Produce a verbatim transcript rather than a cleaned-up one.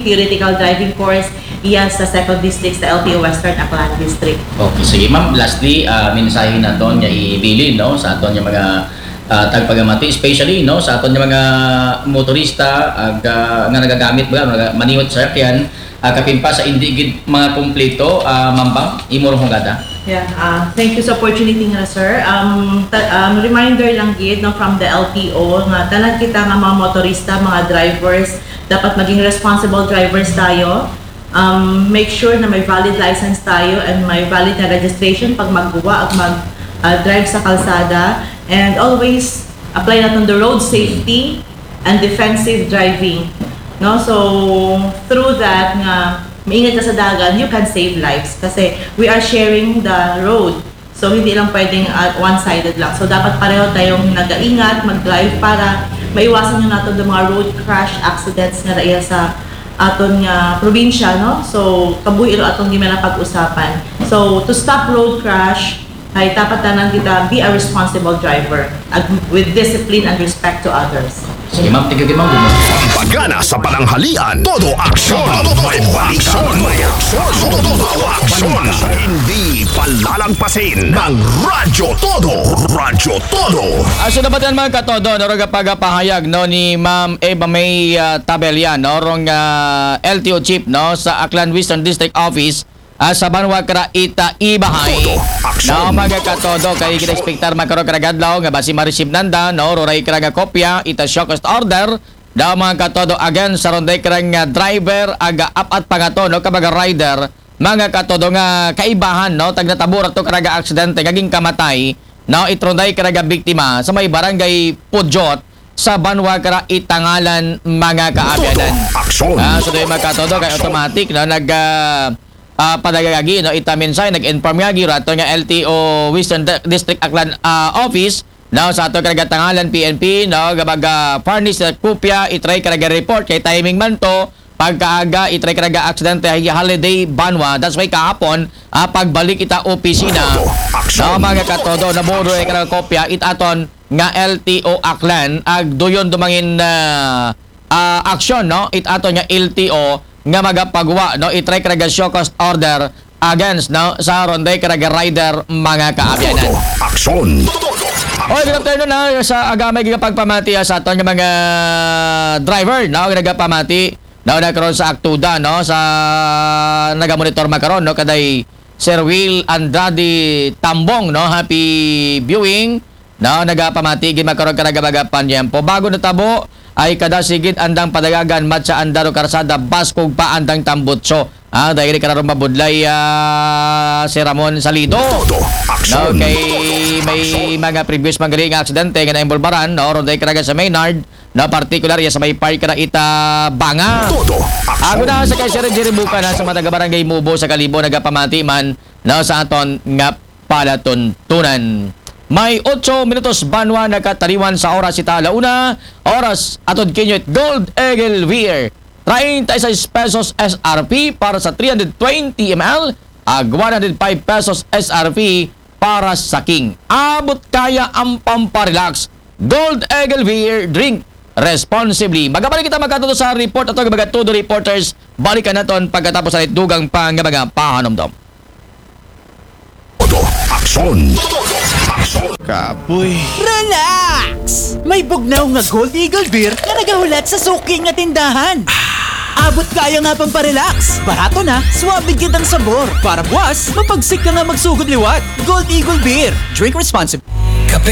theoretical driving course, iya sa Second District sa L T O Western Aklan District. Okay, sige ma'am. Lastly, ah, mensahe naton nga ibilin, no, sa aton nga mga ah, tagpagamati, especially, no, sa aton nga mga motorista ag, ah, nga nagagamit ba, nga manihot sa sakyan, ah, kapin pa sa indi gid mga kumpleto, ah, Ma'am Bam, imo rong hungada. Yeah, ah, thank you sa opportunity nga, sir. Um, ta- um, reminder lang gid, no, from the L T O nga tanan kita nga mga motorista, mga drivers, dapat maging responsible drivers tayo. Um, make sure na may valid license tayo and may valid na registration pag magguwa at mag ah, drive sa kalsada, and always apply naton the road safety and defensive driving, no? So through that nga maingat ka sa dagan, you can save lives kasi we are sharing the road. So hindi lang pwedeng ah, one-sided lang. So dapat pareho tayong nag-aingat, mag-drive para maiwasan nyo nato ang mga road crash accidents nga dahil sa aton nga probinsya, no? So kabuhi ro atong gimana pag-usapan. So to stop road crash, ay dapat tanan kita be a responsible driver ag- with discipline and respect to others. Sige ma'am, thank you kay ma'am. Good morning. Pagana sa pananghalian, todo aksyon, may aksyon, may aksyon, todo aksyon. Hindi palalagpasin ng Radyo Todo, Radyo Todo. Aso na ba mga katodo, no, rong pagapahayag, no, ni Ma'am Eva May ah, Tabella, no, rong ah, L T O Chief, no, sa Aklan Western District Office, ah, sa banwa kara ita ibahay. Todo aksyon. No, mga katodo, kay gina-expectar magkaroon kara adlaw nga basi ma-receive nanda, no, ruray kara nga kopya ita show cause order. Daw mga katodo, again, sa ronday kara nga driver, aga apat pa nga to, no, ka mga rider, mga katodo nga kaibahan, no, tagnatabura to kara nga aksidente nga ginkamatay, no, it ronday kara nga biktima sa may barangay Pudyot sa banwa kara Itangalan, mga kaabyanan. Todo aksyon. Ah, so dahil mga katodo, kay automatic, no, nag ah, ah, padagagi, no, ita mensahe, nag-inform nga girato nga L T O Western Di- District Aklan ah, Office, no, sa ato kara nga Itangalan P N P, no, gabaga furnish na kopya, itry kara nga report kay timing man to, pagkaaga, itry kara nga aksidente, ay holiday banwa. That's why kahapon, ah, pagbalik ita opisina, Todo aksyon. No, mga katodo, naburo ay kara kopya, it aton nga L T O Aklan, ag duyon dumangin ah, ah, aksyon, no, it aton nga L T O nga magapagwa, no, itry kara nga show cause order against, no, sa ronday kara nga rider, mga kaabyanan. Todo aksyon. Oy, good afternoon na sa agamay gigapagpamati ah, sa aton nga mga driver, no, nga nagapamati, no, na karon sa Aktuda, no, sa nagamonitor makaron, no, kaday Sir Will Andrade Tambong, no, happy viewing, no, nagapamati gid makaron kara nga mga panyempo. Bago natabo ay kada sigid andang padagagan matsa andaro karsada baskog pa andang tambutso. Ah, dahil kara rong mabudlay ah, si Ramon Salido. Todo aksyon. No, kay may mga previous manggali nga aksidente nga naimbolbaran, no, ronday kara nga sa Maynard, no, particular ya sa may park kara ita Banga. Todo Ako aksyon. na sa kay Sir Jerry Buka na sa mga taga Barangay Mubo sa Kalibo nagapamati man, no, sa aton nga palatuntunan. May otso minutos banwa nakataliwan sa oras ita ala una, oras atod kinyo it Gold Eagle Beer. Treinta y seis pesos S R P para sa three hundred twenty M L, ag one hundred five pesos S R P para sa King. Abot kaya ang pamparelax. Gold Eagle Beer, drink responsibly. Magabalik kita magkatuto sa report ato mga todo reporters. Balikan naton pagkatapos sa dugang pa nga mga pahanumdom. Todo aksyon. Aksyon. Kapoy. Relax! May bugnaw nga Gold Eagle Beer nga nagahulat sa suki nga tindahan. Abot kaya nga pamparelax. Barato na, suabe gid ang sabor. Para buwas, mapagsik ka nga magsugod liwat. Gold Eagle Beer. Drink responsibly. Kape